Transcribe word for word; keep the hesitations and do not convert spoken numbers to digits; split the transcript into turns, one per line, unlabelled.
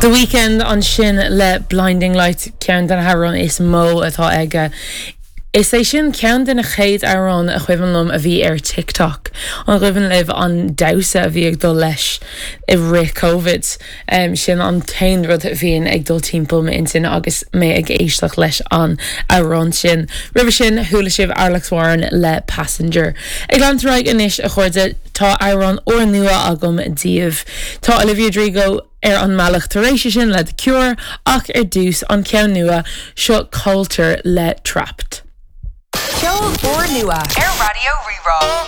The Weeknd ansin le Blinding Lights ceann de na hamhráin is mó atá aige. Is é sin ceann de na chéad amhráin a chuimhin liom a bhí ar TikTok. An cuimhin libh an damhsa a bhí ag dul leis i rith COVID. Um, sin an t-aon rud a bhíonn ag dul timpeall m'intinn agus mé ag éisteacht leis an amhrán sin. Roimhe sin chuala sibh Alex Warren le Passenger. Ag leanúint ar aghaidh anois a chairde tá amhrán úrnua agam daoibh. Tá Olivia Rodrigo ar an mbealach tar éis sin le The Cure ach ar dtús an ceann nua seo Coulter le Trapped.
Ceol úrnua ar Raidió Rí-Rá.